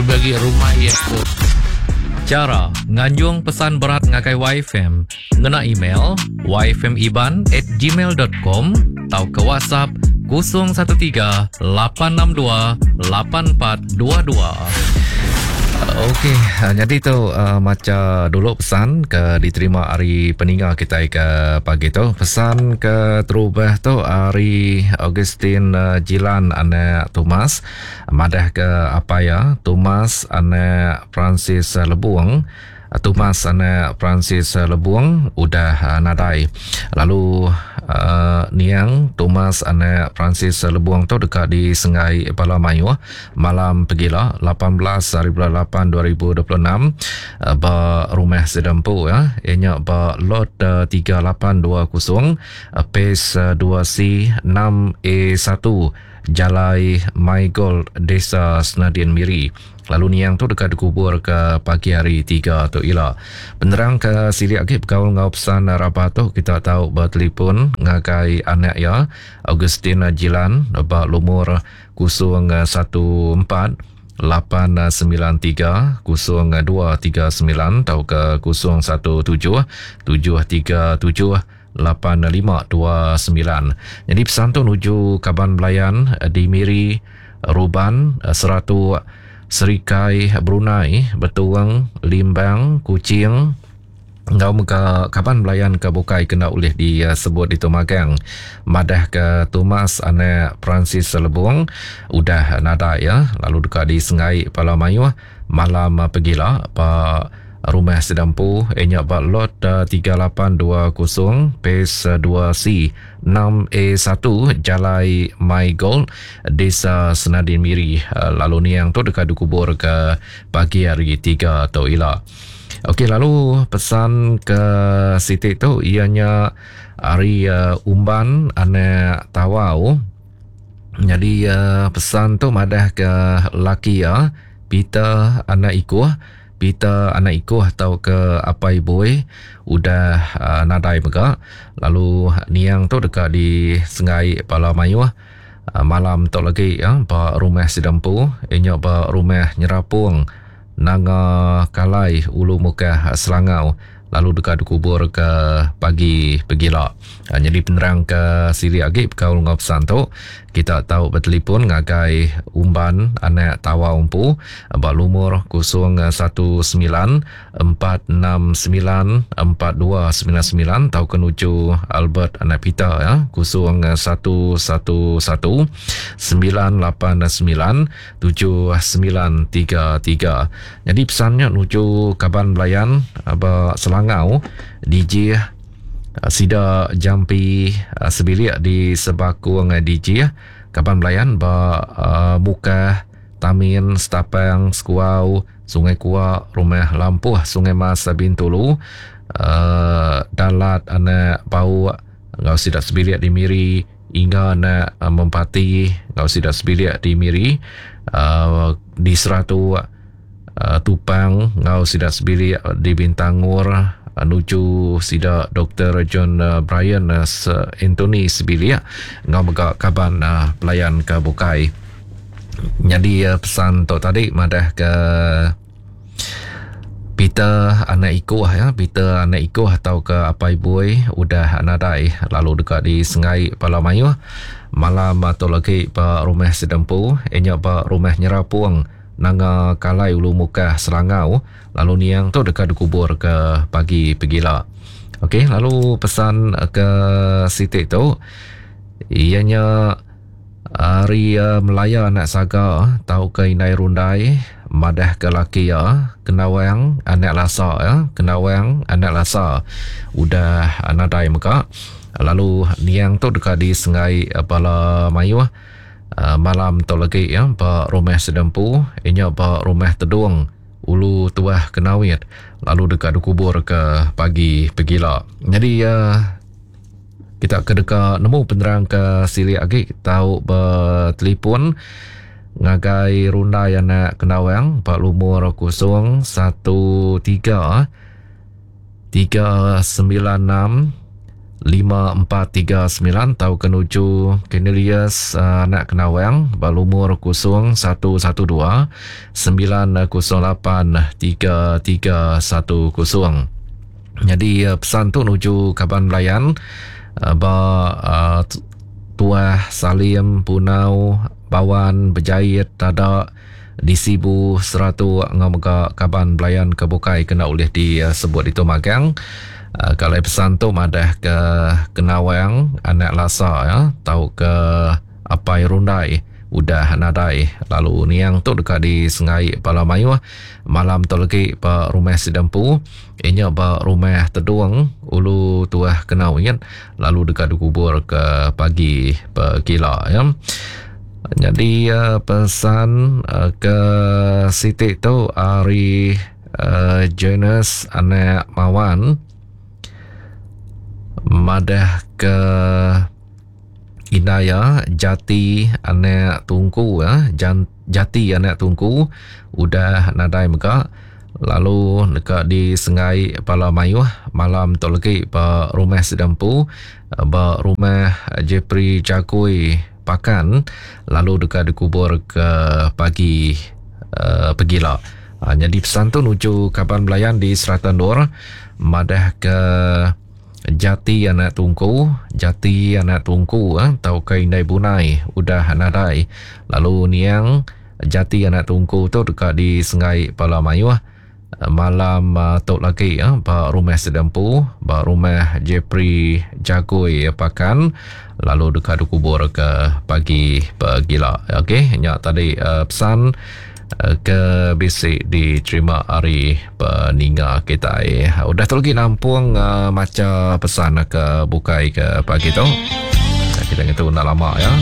Lebih agi rumah iya tu. Chara nganjung pesan berat ngagai YFM ngena email yfmiban at gmail dot com tauka WhatsApp 013 862 8422. Okey, nyadi tu uh, macha dulu pesan ke diterima ari peninga kitai ke pagi tu. Pesan ke terubah tu ari Augustine uh, Jilan anak Thomas. Madahka apai iya, Thomas anak Francis Lebung, Thomas anak Francis Lebung udah nadai. Lalu niang Thomas anak Francis Lebung tu deka disenggai bala mayuh malam pegila 18 hari bulan 8 2026 ba rumah sida empu iya nya ba lot 3820 Phase 2C 6A1 Jalai Maigold Desa Senadin Miri lalu niang tu deka dikubur ke pagi hari Tiga tu ila. Penerang ke silik agi bekaul enggau pesan rabat tu kita tau betelefon ngagai anak iya Augustine Jilan ba lumur 014 893 0239 tauka 017 737 8529. Nyadi pesan tu nuju kaban belayan di Miri, Ruban, Seratuk, Serikai, Brunei, Betong, Limbang, Kuching enggau mega kaban belayan ke bukai ke enda ulih disebut ditu magang madahka Thomas anak Francis Lebong udah nadai iya lalu deka disenggai bala mayuh Malam pegila ba rumah sida empu iya nya ba Lot 3820 Phase 2C 6A1 Jalai My Gold Desa Senadin Miri lalu niang tu deka dikubur ke pagi hari Tiga tu ila. Okey lalu pesan ke siti tu iya nya ari Umban anak Tawau. Nyadi pesan tu madah ke laki iya Peter anak Ikuh, Peter anak Ikuh tauka apai Bui udah nadai mega lalu niang tu deka disenggai bala mayuh malam tu lagi ba rumah sida empu iya nya ba rumah Nyerapong Nanga Kalai Ulu Mukah Selangau lalu deka dikubur ke pagi pegila. Nyadi penerang ke silik agi bekaul enggau pesan tu, kita tau betelefon ngagai Umban anak Tawau empu ba lumur 01 9 469 4299 tauka nuju Albert anak Peter ya 0111 989 7933. Nyadi pesan nya nuju kaban belayan ba Selangau dijih sida jampi sebilik di Sebakung dijih kaban belayan ba Mukah, Tamin, Setapang, Sekuau, Sungai Kuak, Rumah Lampuh, Sungai Mas, Bintulu, Dalat anak Bauk enggau sida sebilik di Miri. Inga anak Mempati enggau sida sebilik di Miri di Seratuk Tupang enggau sida sebilik di Bintangor nuju sida Doktor John Brian Anthony sebilik enggau mega kaban pelayan ke bukai. Nyadi pesan tu tadi madah ke Peter anak Ikuh ya, Peter anak Ikuh tauka apai Bui udah nadai lalu deka disenggai bala mayuh malam tu lagi ba rumah sida empu iya nya ba rumah Nyerapong Nanga Kalai Ulu Mukah Selangau lalu niang tu deka dikubur ke pagi pegila. Okey lalu pesan ke siti tu iya nya Ari Melaya anak Saga tauka indai Rundai madahka laki iya Kendawang anak Lasa iya Kendawang anak Lasa udah nadai mega lalu niang tu deka disenggai bala mayuh malam tu lagi iya ba rumah sida empu iya nya ba rumah Tedong Ulu Tuah Kenawit lalu deka dikubur ke pagi pegila. Nyadi Kita ke deka nemu penerang ke silik agi tau betelefon ngagai Rundai anak Kendawang ba lumur 013 396 5439 tauka nuju Cornelius anak Kenawang ba lumur 0112 908 3310. Nyadi pesan tu nuju kaban belayan ba Tuah Salim Punau Bawan Bejait Tada di Sibu Seratok enggau mega kaban belayan ke bukai kena ulih disebut ditu magang. Kalai pesan tu madah ke Kenawang anak Lasa ya tauka Apai Rundai udah nadai lalu niang tu deka disengai bala mayuh malam tu legi ba rumah sida empu inya ba rumah Tedung Ulu Tuah Kenawit lalu deka dikubur ke pagi pegila ya. Nyadi pesan ke siti tu ari Jonas anak Mawan madah ke indai iya Jati anak Tungku Jati anak Tungku udah nadai mega lalu deka disenggai bala mayuh malam tu legi ba rumah sida empu ba rumah Jepri Jagoi Pakan lalu deka dikubur ke pagi pegila. Nyadi pesan tu nuju kaban belayan di serata endur madah ke Jati anak Tungku, Jati anak Tungku tauka Indai Bunai udah nadai lalu niang Jati anak Tungku tu deka disenggai bala mayuh malam tu lagi ba rumah sida empu ba rumah Jepri Jagoi Pakan lalu deka dikubur ke pagi pegila. Okey nya tadi pesan ke bisi diterima ari peninga kitai. Udah tu lagi nampung macha pesan ke bukai ke pagi tu. Kita ngetu enda lama ya.